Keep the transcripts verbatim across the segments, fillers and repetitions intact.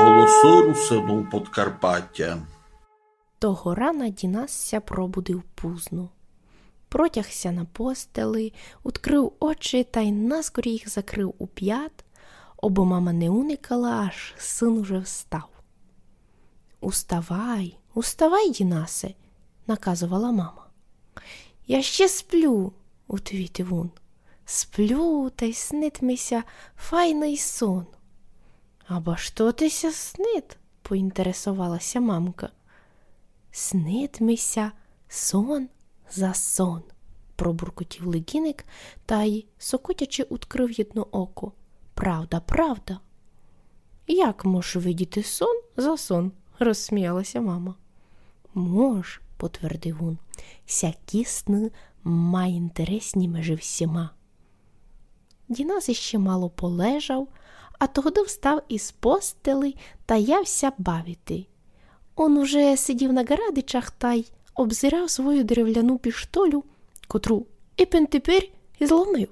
Голосы русинув Подкарпатя. Того рана Дінас ся пробудив пузно. Протяг ся на постели, удкрыв очи тай наскорі їх закрыв упят, обы мама не уникала, аж сын уже встав. «Уставай, уставай, Дінасе», наказовала мама. «Я ще сплю», отвітив ун. «Сплю, тай снит ми ся файный сон». «Аба што ти ся снит?» поінтересовала ся мамка. «Снит ми ся сон за сон», пробуркотів легіник тай, сокотячи, удкрыв єдно око. «Правда, правда». «Як мож видіти сон за сон?» розсміяла ся мама. «Мож», потвердив ун. «Сякі сны майінтересні межи всіма». Дінас іщи мало полежав, а тогды встав из постели тай яв ся бавити. Он уже сидів на ґарадичах тай обзирав свою деревляну піштолю, котру ипен тепер и зломив.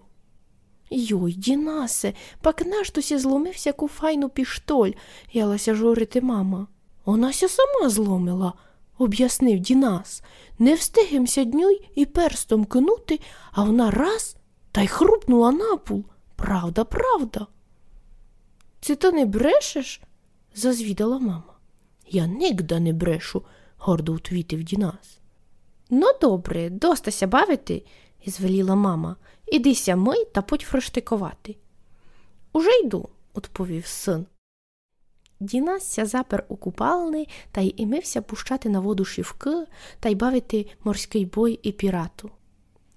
«Йой, Дінасе, пак нашто ся зломив сяку файну піштоль?» яла ся журити мама. «Она ся сама зломила», обяснив Дінас. «Не встиг им ся днюй и перстом кинути, а она раз тай хрупнула на пул. Правда, правда». «Ци ты не брешеш?» зазвідала мама. «Я нигда не брешу», гордо утвітив Дінас. «Но добре, доста ся бавити», звеліла мама. «Іди ся мый та подь фрыштиковати». «Уже йду», одповів сын. Дінас ся запер у купални тай имив ся пущати на воду шівкы тай бавити морськый бой и пірату.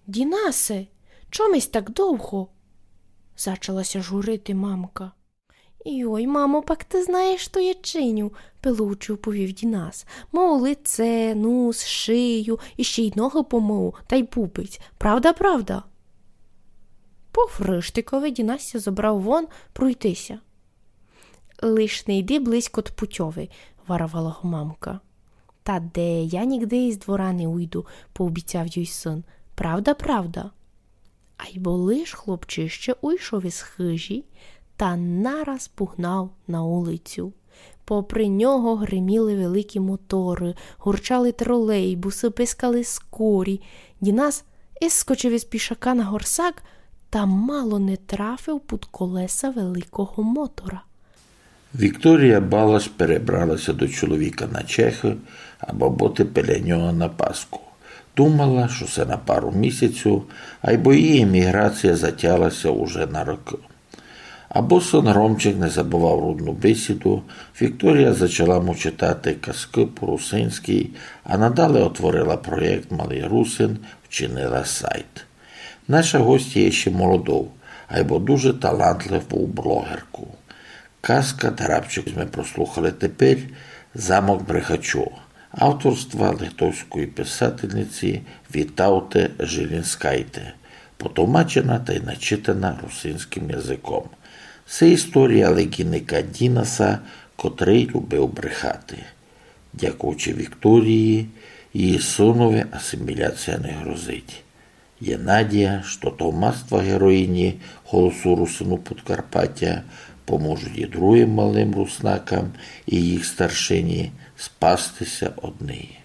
«Дінасе, чом ись так довго?» зачала ся журити мамка. «Йой, мамо, пак ты знаєш, што я чиню», пилуючи, уповів Дінас. «Мою лице, нус, шию, іщи й ногы помою, тай пупець. Правда, правда?» По фрыштикови Дінас ся зобрав вон пройти ся. «Лиш не йди близько од путьови», варовала го мамка. «Та де, я нигде из двора не уйду», пообіцяв юй сын. «Правда, правда». Айбо лиш хлопчище уйшов из хыжі, та нараз пугнав на улицю. Попри нього гриміли великі моторы, гурчали тролейбусы, пискали скорі. Дінас искочив из пішака на горсак та мало не трафив пуд колеса великого мотора. Вікторія Балаш перебрала ся до чоловіка на Чехы, абы быти біля нього на Пасху. Думала, што се на пару місяців, айбо її еміграція затягла ся уже на рокы. Абы сын Ромчик не забывав рудну бесіду, Вікторія зачала му читати казкы по-русинськы, а надале отворила проєкт «Малый русин», вчинила сайт. Наша гостя є ще молодов, айбо дуже талантливу блогерку. Казка, дарабчик, сьме прослухали тепер, «Замок Брехачу», авторства литовської писательниці Вітауты Жилінскайте, потовмачена тай начитана русинськым языком. Се історія легіника Дінаса, котрый любив брехати. Дякуючи Вікторії, її сынови асиміляція не грозить. Є надія, што товмацтва героїні «Голосу русинув Подкарпатя» поможуть і другым малым руснакам, і їх старшині спасти ся од неї.